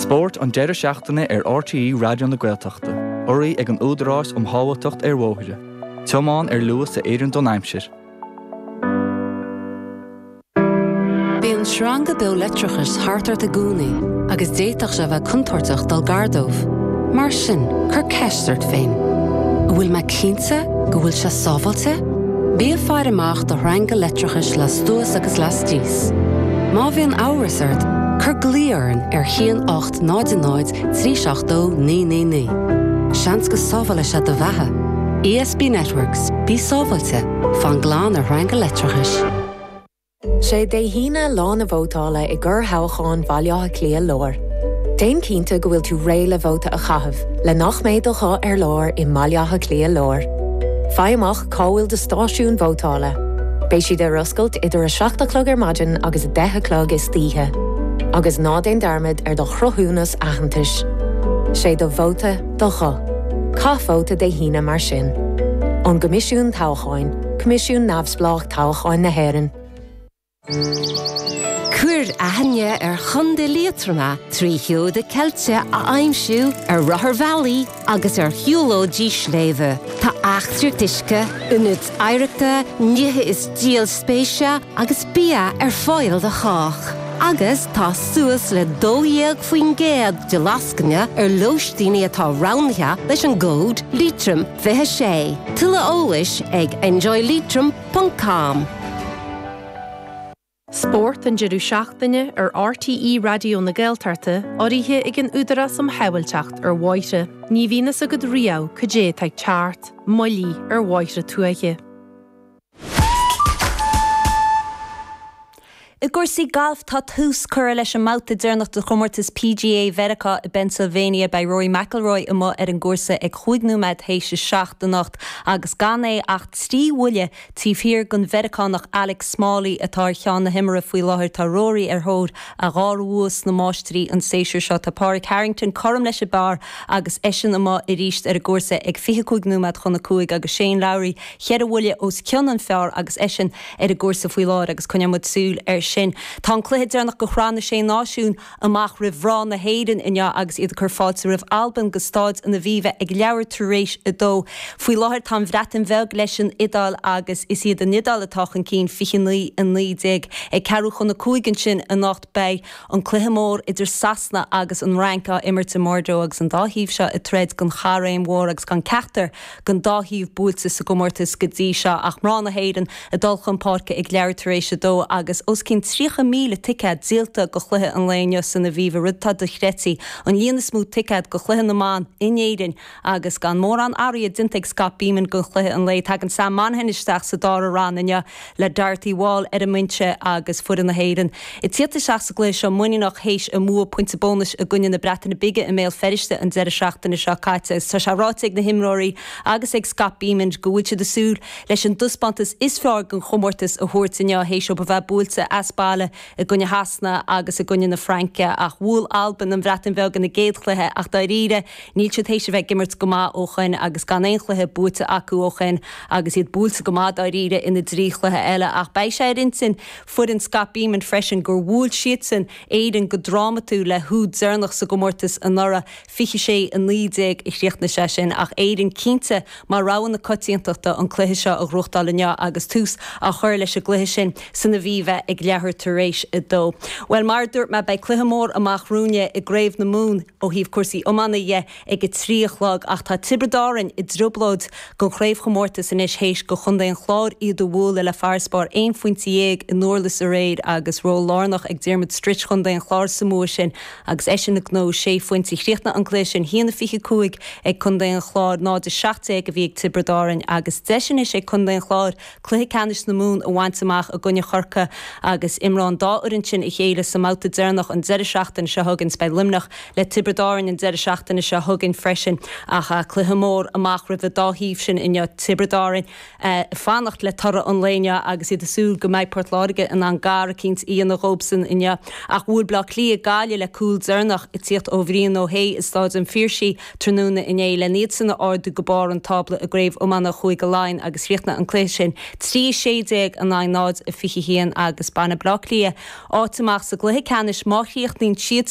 Spórt an deireadh seachtaine ar RTÉ Raidió na Gaeltachta, urraithe ag an Údarás um Shábháilteacht ar Bhóithre. Tiomáin ar luas a oireann don aimsir. Bíonn sreanga beo leictreachais thart ort i gcónaí agus d'fhéadfadh sé a bheith contúirteach dul gar dóibh. Mar sin, cuir ceist ort féin, An bhfuil mé cinnte go bhfuil sé sábháilte? Bí ag faire amach do shreanga leictreachais lastuas agus lastíos. Má bhíonn amhras ort, cuir glao orainn ar 1 8 0 0 3 7 2 9 9 9. Seans go sábhálfaidh sé do bheatha. ESB Networks, bí sábháilte, fan glan ar shreanga leictreachais. Sé Dé hAoine lá na vótála i gcorrthoghchán Bhaile Átha Cliath Láir. Déan cinnte go bhfuil tú réidh le vóta a chaitheamh le nach mbeidh do ghuth ar lár i mBaile Átha Cliath Láir. Faigh amach cá bhfuil do stáisiún vótála. Beidh siad ar oscailt idir 7 a chlog ar maidin agus 10 a chlog istoíche. Agus ná déan dearmad ar do chruthúnas aitheantais. Sé do vóta do ghuth. Caith vóta Dé hAoine mar sin. Ón gCoimisiún Toghcháin, Coimisiún Neamhspleách Toghcháin na hÉireann. Cuir aithne ar Chontae Liatroma trí sheoda ceilte a aimsiú ar rotharbhealaí agus ar shiúlóidí sléibhe. Tá eachtraíocht uisce, ionaid oidhreachta, nithe is díol spéise agus bia ar fáil do chách. Agus tá suas le 12% de lascaine ar lóistíní atá roghnaithe leis an gcód Leitrim 26. Tuilleadh eolais ag enjoyleitrim ponc com. Spórt an deireadh seachtaine ar RTÉ Raidió na Gaeltachta, urraithe ag an Údarás um Shábháilteacht ar Bhóithre. Ní bhíonn fhios agat riamh cad é atá ag teacht, moillí ar bhóithre tuaithe. I gcúrsaí gailf, tá tús curtha leis an mbabhta deireanach de chomórtas PGA Mheiriceá i bPennsylvania. Beidh Rory McIlroy amuigh ar an gcúrsa ag chúig nóiméad théis a 7 anocht agus gan é ach 3 bhuille taobh thiar den Mheiriceánach Alex Smalley atá ar cheann na himeartha faoi láthair. Tá Rory ar thóir a dhara bhua sna Máistrí an séasúr seo. Tá Pádraig Harrington cothrom leis an bpar agus eisean amuigh arís ar an gcúrsa ag 25 nóiméad chun a 5 agus Shane Lowry cheithre bhuille os cionn an phar agus eisean ar an gcúrsa faoi láthair agus coinneoidh muid súil air sin. Tá an cluiche deireanach de Shraith na Sé Náisiún amach roimh mhná na hÉireann inniu agus iad ag cur fáilte roimh Albain go Stáid an Aviva ag leathuair tar éis a dó. Faoi láthair tá an Bhreatain Bheag leis an Iodáil agus is iad an Iodáil atá chun cinn, 29, 19. Ag ceathrú chun a cúig ansin anocht beidh an cluiche mór idir Sasana agus an Fhrainc á imirt i mBordeaux agus an dá thaobh seo ag troid don chaithréim mhór agus gan ceachtar den dá thaobh buailte sa gcomórtas go dtí seo ach mná na hÉireann ag dul chun páirce ag leathuair tar éis a dó agus os cionn 30,000 ticéad díolta do chluiche an lae inniu san Aviva, rud atá dochreidte, an líon is mó ticéad do chluiche na mban in Éirinn agus gan mórán athruithe déanta ag Scott Bemand do chluiche an lae. Tagann Sam Monaghan isteach sa dara roinn inniu le Dorothy Wall ar an mbinse agus foireann na hÉireann ag tíocht isteach sa gcluiche seo muiníneach théis a mbua pointe bónais i gcoinne na Breataine Bige i mBéal Feirste an deireadh seachtaine seo caite agus tá sé ráite ag na himreoirí agus ag Scott Bemand go bhfuil siad ag súil leis an dtaispeántas is fearr den chomórtas a thabhairt inniu théis dóibh a bheith buailte as baile i gcoinne Shasana agus i gcoinne na Fraince ach bhuail Albain an Bhreatain Bheag ina gcéad chluiche ach dáiríre níl siad théis a bheith ag imirt go maith ó shoin agus gan aon chluiche buaite acu ó shoin agus iad buailte go maith dáiríre ina dtrí chluiche eile ach beidh sé ar intinn foireann Scott Bemand freisin gur bhuail siadsan Éirinn go drámatúil le húd deireanach sa gcomórtas anuraidh, 26, 19 a chríochnaigh sé sin ach Éirinn cinnte mar rogha na coitiantachta an cluiche seo a ghnóthachtáil inniu agus tús á chur leis an gcluiche sin san Aviva ag leathuair tar éis a dó. Bhuel, mar a dúirt mé, beidh cluiche mór amach romhainne i gCraobh na Mumhan ó thaobh cúrsaí iomána dhe ag a trí a chlog ach tá Tiobraid Árann i dtrioblóid don chraobhchomórtas anois théis do Chontae an Chláir iad a bhualadh le farasbarr aon phointe dhéag i nDurlas aréir agus ról lárnach ag Diarmuid Stritch Chontae an Chláir sa mbua sin agus eisean ag gnóthú sé phointe. Chríochnaigh an cluiche sin 1-25 ag Contae an Chláir, 0-17 a bhí ag Tiobraid Árann agus deis anois ag Contae an Chláir cluiche ceannais na Mumhan a bhaint amach i gcoinne Chorcaí agus imreoidh an dá fhoireann sin a chéile sa mbabhta deireanach an deireadh seachtaine seo chugainn. Beidh Luimneach le Tiobraid Árann an deireadh seachtaine seo chugainn freisin ach cluiche mór amach roimh an dá thaobh sin inniu. Tiobraid Árann ag fanacht le toradh an lae inniu agus iad ag súil go mbeidh Port Láirge in ann gar eicínt a dhéanamh dhóibhsan inniu. Ach bhuail Bleá Cliath Gaillimh le cúl deireanach ag tíocht ó Bhrian Ó hAodha i Stáid an Phiarsaigh tráthnóna inné len iadsan a ardú go barr an tábla i gCraobh Iomána Chúige Laighean agus chríochnaigh an cluiche sin 3 16 in aghaidh 0 21 agus bainfidh Bleá Cliath áit amach sa gcluiche ceannais má chríochnaíonn siadsan.